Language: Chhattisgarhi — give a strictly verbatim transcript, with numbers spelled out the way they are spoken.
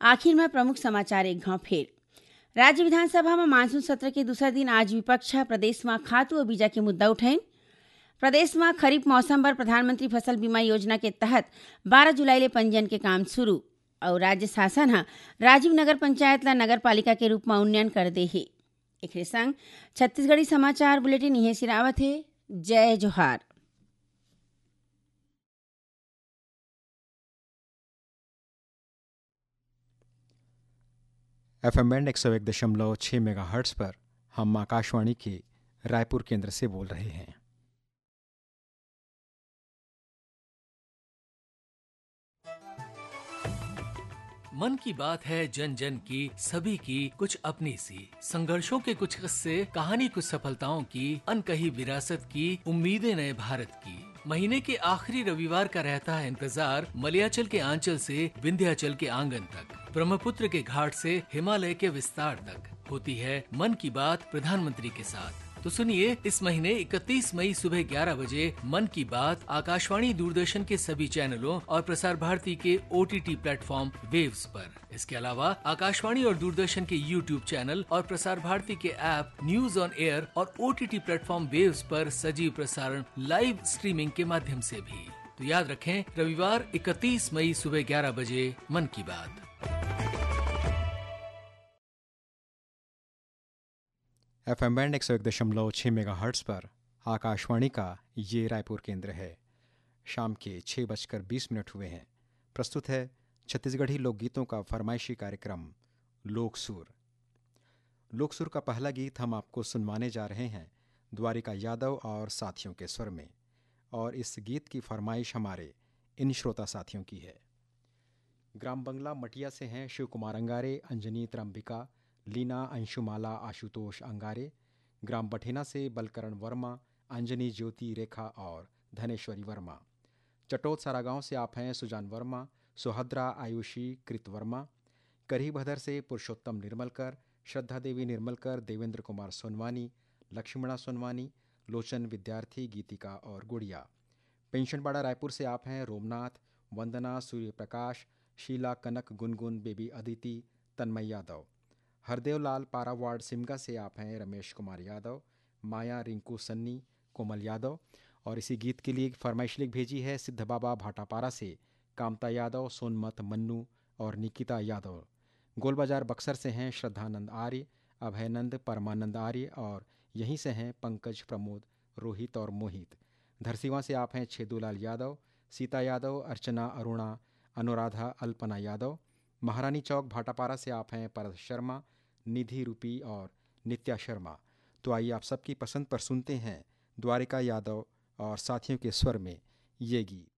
आखिर में प्रमुख समाचार एक घाव फेर। राज्य विधानसभा में मानसून सत्र के दूसरा दिन आज विपक्ष ह प्रदेश में खातू अउ बीजा के मुद्दा उठाइन। प्रदेश में खरीफ मौसम बर प्रधानमंत्री फसल बीमा योजना के तहत बारह जुलाई ले पंजीयन के काम शुरू। अउ राज्य शासन ह राजीव नगर पंचायत ला नगर पालिका के रूप में उन्नयन कर दे हे। एकरे संग छत्तीसगढ़ी समाचार बुलेटिन इहें सिरावत हे। जय जोहार। एफ एम बैंड एक सौ एक दशमलव छह मेगाहर्ट्ज पर हम आकाशवाणी के रायपुर केंद्र से बोल रहे हैं। मन की बात है, जन जन की, सभी की कुछ अपनी सी। संघर्षों के कुछ किस्से, कहानी कुछ सफलताओं की, अनकही विरासत की, उम्मीदें नए भारत की। महीने के आखिरी रविवार का रहता है इंतजार, मलयाचल के आंचल से विंध्याचल के आंगन तक, ब्रह्मपुत्र के घाट से हिमालय के विस्तार तक। होती है मन की बात प्रधानमंत्री के साथ। तो सुनिए, इस महीने इकतीस मई सुबह ग्यारह बजे मन की बात आकाशवाणी, दूरदर्शन के सभी चैनलों और प्रसार भारती के O T T platform waves पर। इसके अलावा आकाशवाणी और दूरदर्शन के YouTube चैनल और प्रसार भारती के ऐप न्यूज ऑन एयर और O T T platform waves पर सजीव प्रसारण लाइव स्ट्रीमिंग के माध्यम से भी। तो याद रखें, रविवार इकतीस मई सुबह ग्यारह बजे मन की बात। एफ एम बैंड एक सौ एक दशमलव छह मेगाहर्ट्ज पर आकाशवाणी का ये रायपुर केंद्र है। शाम के छः बजकर बीस मिनट हुए हैं। प्रस्तुत है छत्तीसगढ़ी लोकगीतों का फरमाइशी कार्यक्रम लोक सुर। लोक सुर का पहला गीत हम आपको सुनवाने जा रहे हैं द्वारिका यादव और साथियों के स्वर में। और इस गीत की फरमाइश हमारे इन श्रोता साथियों की है। ग्राम बंगला मटिया से हैं शिव कुमार अंगारे, अंजनी त्रंबिका, लीना, अंशुमाला, आशुतोष अंगारे। ग्राम बठेना से बलकरण वर्मा, अंजनी, ज्योति, रेखा और धनेश्वरी वर्मा। चटोत सारागांव से आप हैं सुजान वर्मा, सुहद्रा, आयुषी, कृत वर्मा। करीभदर से पुरुषोत्तम निर्मलकर, श्रद्धा देवी निर्मलकर, देवेंद्र कुमार सोनवानी, लक्ष्मणा सोनवानी, लोचन विद्यार्थी, गीतिका और गुड़िया। पेंशनबाड़ा रायपुर से आप हैं रोमनाथ, वंदना, सूर्य प्रकाश, शीला, कनक, गुनगुन, बेबी अदिति, तन्मय यादव। हरदेव लाल पारा वार्ड सिमगा से आप हैं रमेश कुमार यादव, माया, रिंकू, सन्नी, कोमल यादव। और इसी गीत के लिए एक फरमाइश लिख भेजी है सिद्ध बाबा भाटापारा से कामता यादव, सोनमत, मन्नू और निकिता यादव। गोलबाजार बक्सर से हैं श्रद्धानंद आर्य, अभयनंद, परमानंद आर्य और यहीं से हैं पंकज, प्रमोद, रोहित और मोहित। धरसीवा से आप हैं छेदूलाल यादव, सीता यादव, अर्चना, अरुणा, अनुराधा, अल्पना यादव। महारानी चौक भाटापारा से आप हैं परस शर्मा, निधि रूपी और नित्या शर्मा। तो आइए आप सबकी पसंद पर सुनते हैं द्वारिका यादव और साथियों के स्वर में ये गीत।